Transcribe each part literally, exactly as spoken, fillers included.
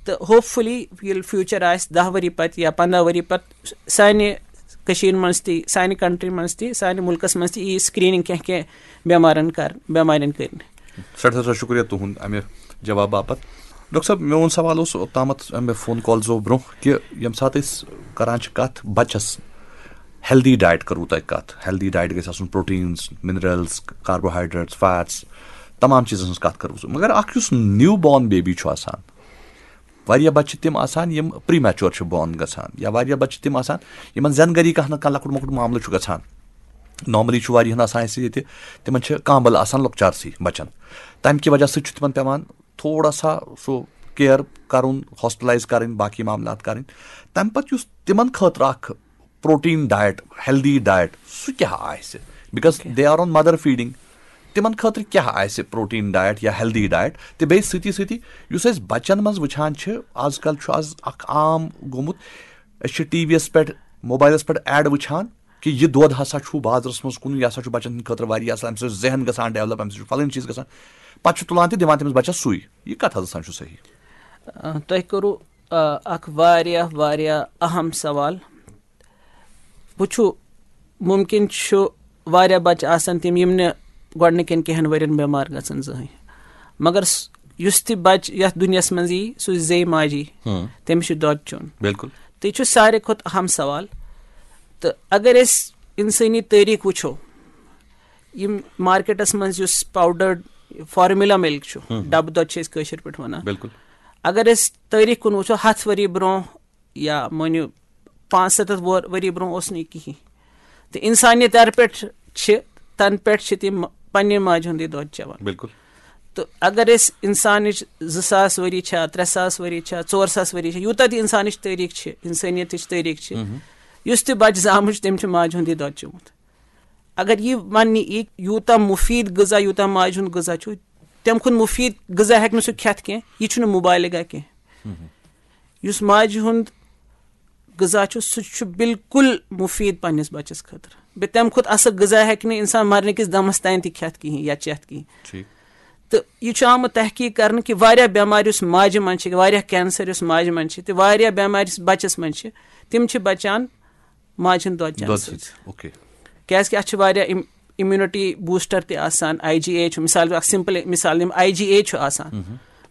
تہٕ hope fully ییٚلہِ future آسہِ دَہ ؤری پَتہٕ یا پنٛداہ ؤری پَتہٕ، سانہِ کٔشیٖرِ منٛز تہِ، سانہِ کنٹری منٛز تہِ، سانہِ مُلکَس منٛز تہِ یی سکریننگ کینٛہہ کینٛہہ بیمارن کر بیمارٮ۪ن کٔرنہٕ۔ سٮ۪ٹھاہ سٮ۪ٹھاہ شُکریہ تُہُنٛد اَمہِ جواب باپتھ۔ ڈاکٹر صٲب، میون سوال اوس اوٚتامَتھ اَمہِ فون کالزو برونٛہہ کہِ ییٚمہِ ساتہٕ أسۍ کران چھِ کَتھ بَچَس ہیلدی ڈایٹ کَرو تۄہہِ کَتھ، ہیلدی ڈایٹ گژھِ آسُن، پروٹینز، منرلز، کاربوہائیڈریٹس، فیٹس، تمام چیٖزَن ہٕنٛز کَتھ کَرو۔ مگر اَکھ یُس نیو بارن بیبی چھُ آسان، واریاہ بَچہِ چھِ تِم آسان یِم پری میچور چھِ بارن گژھان، یا واریاہ بَچہِ چھِ تِم آسان یِمن زٮ۪ن گری کانٛہہ نہ کانٛہہ لۄکُٹ مۄکُٹ معاملہٕ چھُ گژھان۔ نارملی چھُ واریاہن آسان اَسہِ ییٚتہِ، تِمن چھِ کانٛبَل آسان لۄکچارسٕے بَچَن، تَمہِ کہِ وجہ سۭتۍ چھُ تِمن پٮ۪وان تھوڑا سا سُہ کیئر کَرُن، ہاسپٹلائز کَرٕنۍ، باقٕے معاملات کَرٕنۍ۔ تَمہِ پَتہٕ یُس تِمن خٲطرٕ اَکھ پروٹین ڈایٹ، ہیلدی ڈایٹ، سُہ کیٛاہ آسہِ؟ Because they are on mother feeding، تِمن خٲطرٕ کیٛاہ آسہِ پروٹین ڈایٹ یا ہیلدی ڈایٹ؟ تہٕ بیٚیہِ سۭتی سۭتی یُس أسۍ بَچَن منٛز وٕچھان چھِ، آز کل چھُ آز اَکھ عام گوٚمُت، أسۍ چھِ ٹی وی یَس پٮ۪ٹھ، موبایلَس پٮ۪ٹھ ایڈ وٕچھان کہِ یہِ دۄد ہسا چھُ بازرَس منٛز کُنُن، یہِ ہسا چھُ بَچَن ہٕنٛدِ خٲطرٕ واریاہ اَصٕل، اَمہِ سۭتۍ چھُ ذہن گژھان ڈیولپ، اَمہِ سۭتۍ چھُ فلٲنۍ چیٖز گژھان، پَتہٕ چھُ تُلان تہِ دِوان تٔمِس بَچَس سُے۔ یہِ کَتھ حظ سان چھُ صحیح؟ آ، تۄہہِ کوٚروٕ، آ، اکھ واریاہ واریاہ اہم سوال۔ وٕچھِو، مُمکِن چھُ واریاہ بَچہٕ آسَن تِم یِم نہٕ گۄڈٕنِکٮ۪ن کینٛہَن ؤرِین بٮ۪مار گژھن زٕہٕنۍ، مگر س- یُس تہِ بَچہٕ یَتھ دُنیاہَس منٛز یی، سُہ زیٚیہِ ماجی، تٔمِس چھُ دۄد چیوٚن۔ بالکل۔ تہٕ یہِ چھُ ساروی کھۄتہٕ اہم سوال۔ تہٕ اگر أسۍ اِنسٲنی تٲریٖخ وٕچھو، یِم مارکیٹَس منٛز یُس پاوڈرڈ فارمولا مِلک چھُ، ڈَبہٕ دۄد چھِ أسۍ کٲشِر پٲٹھۍ وَنان، بالکل۔ اگر أسۍ تٲریٖخ کُن وٕچھو، ہَتھ ؤری برونٛہہ یا مٲنِو پانٛژھ سَتَتھ وُہَر ؤری برونٛہہ اوس نہٕ یہِ کِہیٖنۍ۔ تہٕ اِنسانیت یَر پٮ۪ٹھ چھِ، تَنہٕ پٮ۪ٹھ چھِ تِم پنٛنہِ ماجہِ ہُنٛدُے دۄد چٮ۪وان۔ بالکل۔ تہٕ اگر أسۍ اِنسانٕچ زٕ ساس ؤری چھا، ترٛےٚ ساس ؤری چھا، ژور ساس ؤری چھا، یوٗتاہ تہِ اِنسانٕچ تٲریٖخ چھِ، اِنسٲنیتٕچ تٲریٖخ چھِ، یُس تہِ بَچہٕ زامُت چھُ، تٔمۍ چھُ ماجہِ ہُنٛدُے دۄد چوٚمُت۔ اگر یہِ وَننہٕ یی، یوٗتاہ مُفیٖد غذا، یوٗتاہ ماجہِ ہُنٛد غذا چھُ، تَمہِ کھۄتہٕ مُفیٖد غذا ہیٚکہِ نہٕ سُہ کھٮ۪تھ کینٛہہ، یہِ چھُنہٕ مُبالغہ کینٛہہ۔ یُس ماجہِ ہُنٛد غذا چھُ، سُہ چھُ بالکل مُفیٖد پنٛنِس بَچَس خٲطرٕ۔ بیٚیہِ تَمہِ کھۄتہٕ اَصٕل غذا ہیٚکہِ نہٕ اِنسان مَرنہٕ کِس دَمَس تام تہِ کھٮ۪تھ کِہیٖنۍ یا چٮ۪تھ کِہیٖنۍ۔ ٹھیٖک۔ تہٕ یہِ چھُ آمُت تحقیٖق کَرنہٕ کہِ واریاہ بٮ۪مارِ یُس ماجہِ منٛز چھِ، واریاہ کینسر یُس ماجہِ منٛز چھِ، تہٕ واریاہ بٮ۪مارِ یُس بَچَس منٛز چھِ، تِم چھِ بَچان ماجہِ ہُنٛد دۄد چٮ۪نہٕ دۄد سۭتۍ۔ سۭتۍ۔ اوکے۔ کیٛازِکہِ اَتھ چھِ واریاہ اِم-، اِمیوٗنِٹی بوٗسٹر تہِ آسان، آی جی اے چھُ، مِثال، اَکھ سِمپٕل مِثال دِمہٕ، آی جی اے چھُ آسان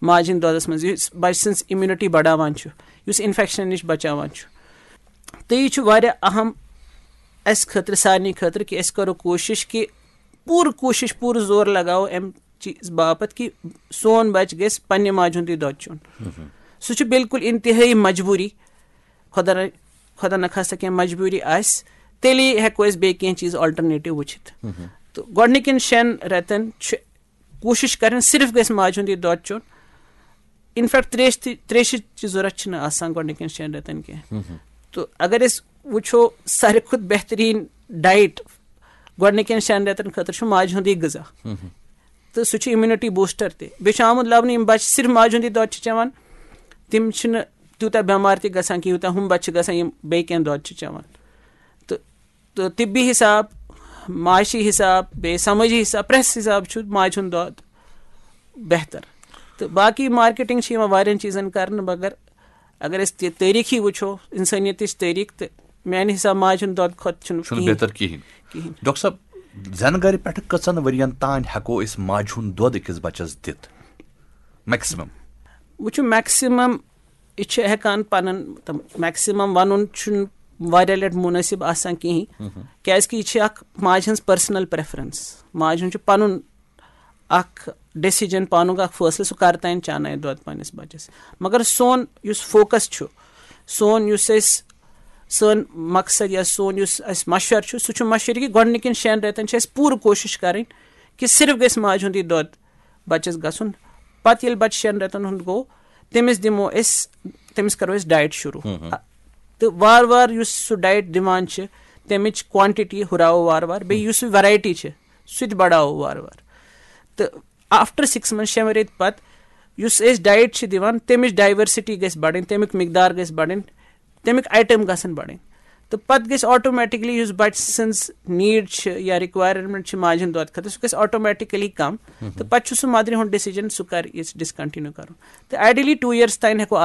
ماجہِ ہِنٛدِ دۄدَس منٛز، یُس بَچہٕ سٕنٛز اِمیوٗنِٹی بَڑاوان چھُ، یُس اِنفٮ۪کشَن نِش بَچاوان چھُ۔ تہٕ یہِ چھُ واریاہ اَہَم اَسہِ خٲطرٕ، سارنٕے خٲطرٕ، کہِ أسۍ کَرو کوٗشِش کہِ پوٗرٕ کوٗشِش، پوٗرٕ زور لَگاوو اَمہِ چیٖز باپَتھ کہِ سون بَچہٕ گژھِ پنٛنہِ ماجہِ ہُنٛدُے دۄد چیوٚن۔ سُہ چھُ بالکل اِنتِہٲیی مجبوٗری، خۄدا نہ، خۄدا نہ خاستہ کینٛہہ مجبوٗری آسہِ، تیٚلے ہٮ۪کو أسۍ بیٚیہِ کینٛہہ چیٖز آلٹرنیٹِو وٕچھِتھ۔ تہٕ گۄڈٕنِکٮ۪ن شٮ۪ن رٮ۪تَن چھُ کوٗشِش کَرٕنۍ صرف گژھِ ماجہِ ہُنٛدُے دۄد چیوٚن۔ اِنفیکٹ ترٛیش تہِ، ترٛیشہِ چہِ ضوٚرَتھ چھِنہٕ آسان گۄڈٕنِکٮ۪ن شٮ۪ن رٮ۪تَن کینٛہہ۔ تہٕ اگر أسۍ وٕچھو، ساروی کھۄتہٕ بہتریٖن ڈایٹ گۄڈٕنِکٮ۪ن شٮ۪ن رٮ۪تَن خٲطرٕ چھُ ماجہِ ہُنٛدُے غذا۔ تہٕ سُہ چھُ اِمیوٗنِٹی بوٗسٹر تہِ۔ بیٚیہِ چھُ آمُت لَبنہٕ، یِم بَچہٕ صرف ماجہِ ہُنٛدُے دۄد چھِ چٮ۪وان، تِم چھِنہٕ تیوٗتاہ بٮ۪مار تہِ گژھان کینٛہہ، یوٗتاہ ہُم بَچہٕ چھِ گژھان، یِم بیٚیہِ کینٛہہ دۄد چھِ چٮ۪وان۔ تہٕ، تہٕ طبی حساب، معاشی حساب، بیٚیہِ سمٲجی حساب، پرٛٮ۪تھ حساب چھُ ماجہِ ہُنٛد دۄد بہتر۔ تہٕ باقٕے مارکیٹنگ چھِ یِوان واریاہَن چیٖزَن کرنہٕ، مگر اگر أسۍ تہِ تٲریٖخی وٕچھو، اِنسٲنیتٕچ تٲریٖخ، تہٕ میٛانہِ حساب ماجہِ ہُنٛد دۄد کھۄتہٕ چھُنہٕ چھُنہٕ کِہیٖنۍ۔ بہتر کِہیٖنۍ۔ کِہیٖنۍ۔ ڈاکٹر صٲب، زٮ۪نہٕ گرِ پٮ۪ٹھٕ کٔژَن ؤرین تام ہٮ۪کو أسۍ ماجہِ ہُنٛد دۄد أکِس بَچَس دِتھ؟ میکسِمم۔ وٕچھِو، میکسِمم یہِ چھِ ہٮ۪کان پَنُن، تہٕ میکسِمم وَنُن چھُنہٕ واریاہ لَٹہِ مُنٲسِب آسان کِہیٖنۍ، کیٛازِکہِ یہِ چھِ اَکھ ماجہِ ہٕنٛز پٔرسٕنَل پرٛٮ۪فرَنٕس۔ ماجہِ ہُنٛد چھُ پَنُن اَکھ ڈیسیجن، پانُک اَکھ فٲصلہٕ، سُہ کَر تام چانایہِ دۄد پنٛنِس بَچَس۔ مگر سون یُس فوکَس چھُ، سون یُس أسۍ، سٲنۍ مقصد یا سون یُس اَسہِ مَشوَرٕ چھُ، سُہ چھُ مَشوَرٕ کہِ گۄڈٕنِکٮ۪ن شٮ۪ن رٮ۪تَن چھِ اَسہِ پوٗرٕ کوٗشِش کَرٕنۍ کہِ صرف گژھِ ماجہِ ہُنٛدُے دۄد بَچَس گژھُن۔ پَتہٕ ییٚلہِ بَچہٕ شٮ۪ن رٮ۪تَن ہُنٛد گوٚو، تٔمِس دِمو أسۍ، تٔمِس کَرو أسۍ ڈایٹ شروٗع۔ تہٕ وارٕ وارٕ یُس سُہ ڈایٹ دِوان چھِ، تَمِچ کوانٹِٹی ہُراوو وارٕ وارٕ، بیٚیہِ یُس سُہ ویرایٹی چھِ، سُہ تہِ بَڑاوو وارٕ وارٕ۔ تہٕ آفٹر سِکِس منتھس، شٮ۪ن رٮ۪تۍ پَتہٕ، یُس أسۍ ڈایٹ چھِ دِوان، تَمِچ ڈایورسٹی گژھِ بَڑٕنۍ، تَمیُک مقدار گژھِ بَڑٕنۍ، تَمِکۍ آیٹم گژھن بَڑٕنۍ۔ تہٕ پَتہٕ گژھِ آٹومیٹکلی یُس بَچہٕ سٕنٛز نیٖڈ چھِ یا رِکوایرمنٹ چھِ ماجہِ ہُنٛد دۄد خٲطرٕ، سُہ گژھِ آٹومیٹکلی کَم۔ تہٕ پَتہٕ چھُ سُہ مَدرِ ہُنٛد ڈیسیجن، سُہ کَر یہِ ڈِسکنٹِنیو کَرُن۔ تہٕ آیڈیلی ٹوٗ یِیرس تام ہٮ۪کو